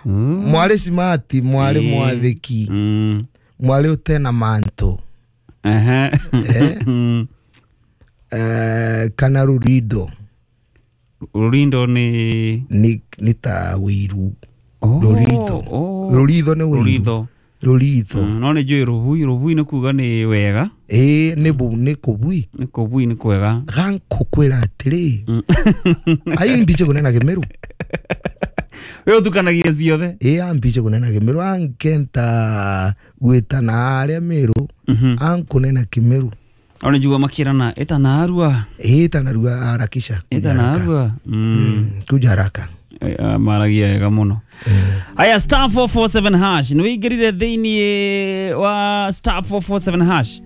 Mwari simati, mwari mwathiki. Mwari utena manto. Kana rurindo. Rurindo ni ni ta wiru. Rurindo. Rurindo ni wiru. Rurindo. No ni njui rubui, rubui ni kuga ni wega. Ni bu ni kubui. Ni kubui ni kwega. Gankukwira atiri. Ai mbiche kunena Kimiru. We utukanagia ciothe. Ambiche kunena Kimiru ankenta gwitana aria Miru. Ankunena Kimiru. Ona njugua makirana etana arua. Etana arua harakisha. Etana arua. Kuja haraka. Maragia wega muno. Aya star 447 hash ni wingirire thiini wa star 447 hash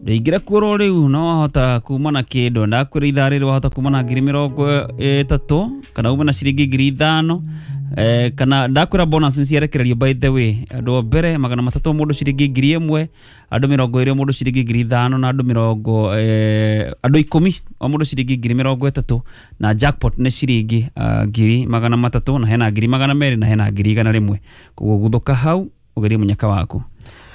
ndingira kuoro riu no wahota kuma na kindu ndakwira ithaa riri wahota kuma na 30,000 kana uma na ciringi 5,000 kana ndakwira bonus ni ciarekererio by the way andu mbere 300 mundu ciringi 1,000 andu 20 mundu ciringi 5,000 na andu 20 andu 10 o mundu ciringi 30,000 na jackpot ni ciringi 300,000 na hena 200,000 na hena 100,000 koguo guthuka hau ugerie munyaka waku.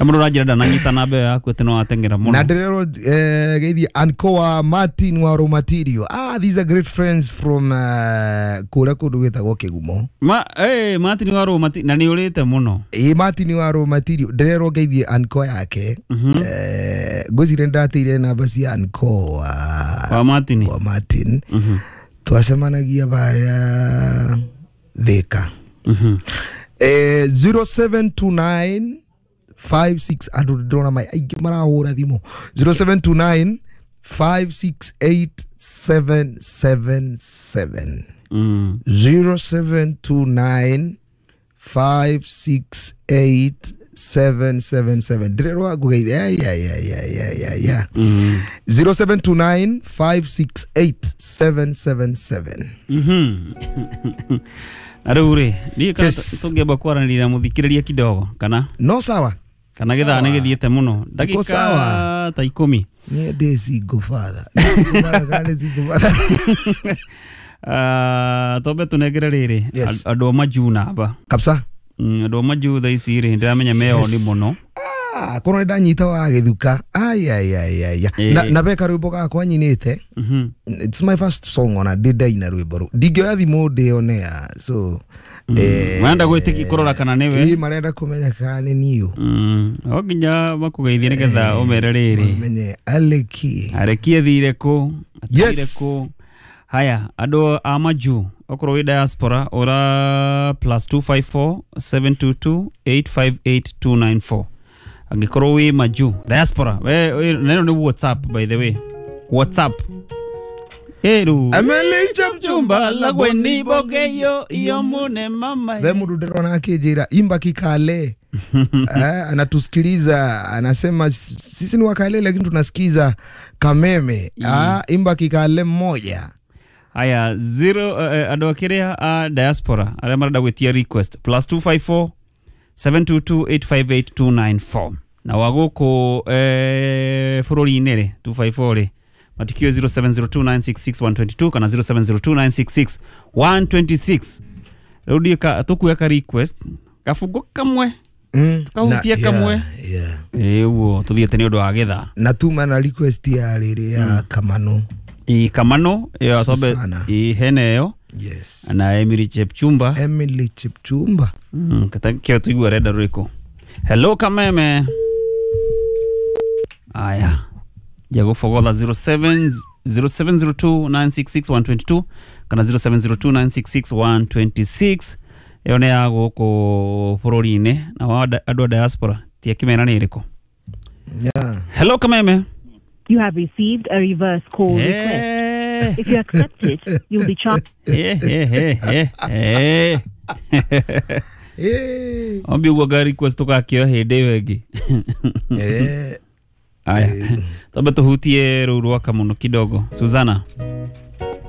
Mundu uranjira ndananyita namba ĩyo yaku atĩ no wateng'era mũno. Na ndirerwo geithie Ankoa Martin wa Romatirio. These are great friends from kũrĩa kũndũ gwĩtagwo Kĩgumo. Ma Martin wa Romatirio na nĩ ũrĩte mũno. Martin wa Romatirio ndirerwo geithie Ankoa yake. Ngwĩciria nĩndateire namba cia Ankoa wa Martin. Wa Martin. Twacemanagia barĩa Thika. 0729 56 andu ndona mai aingĩ marahũra thimũ 0729 568 777 0729 568 777 ndirerwa ngugeithia ya 0729 568 777. Na rĩu rĩ niĩ kana tũngĩamba kwaranĩria na mũthikĩrĩria kidogo kana no sawa kana githaa nĩ gĩthiĩte mũno ndagĩka ta 10. Niĩ ndĩ single father. Kana single father. Tombe tũnengere rĩrĩ andũ a majuu namba kabisa. Andũ a majuu thaa ici rĩ ndĩramenya meo nĩ mũno. Korwo ndanyita wa gĩthuka ai na beka rwĩmbo gakwa nyinĩte. It's my first song ona ndĩ ndaina rwĩmbo rũu ndingĩoya thimũ ndĩonea so marenda gwĩtĩki kũrora kana nĩwe. Marenda kũmenya kana nĩ niũ. O nginya makũgeithie nĩgetha ũmere rĩrĩ menye Aleki Aleki athire kũ athire kũ. Haya andũ a majuu okorwo wĩ diaspora ora +254 722 858 294 angikorwo wi majuu diaspora we neno ni WhatsApp by the way WhatsApp eru Emily Chepchumba lagweni bogeyo iyo mune mama we mundu ndirona akinjira imba kikale. Anatusikiliza anasema sisi ni wakale lakini tunasikiza Kameme. Imba kikale mmoja. Haya zero andu akiria a diaspora aria marenda gwitia request +254 722 858 294 na wa gũkũ bũrũri-inĩ rĩ 254 rĩ matikio 0702966122 kana 0702966126 rĩu ndiĩ tũkuoya ka request kabungo kamwe tukahutia kamwe ĩguo tũthiĩte nĩ ũndũ wa gĩthaa na tuma na request ya rĩrĩ ya Kamano. Kamano ĩyo tombe hena ĩyo. Yes. Na Emily Chepchumba. Emily Chepchumba. Kio tuigua renda rũrĩkũ. Hello Kameme. Aya. Jago fogotha 0702 966 122 kana 0702 966 126 ĩyo nĩ ya gũkũ bũrũri-inĩ na wa andũ a diaspora ti akĩmera nĩ ĩrĩkũ. Yeah. Hello Kameme. You have received a reverse call request. If you accept it, you'll be charged. Ombi uguo ga request tũgakĩoya hĩndĩ ĩyo ĩngĩ. Aya. Twambe tũhutie rũu rwa Kamuno kidogo. Suzana.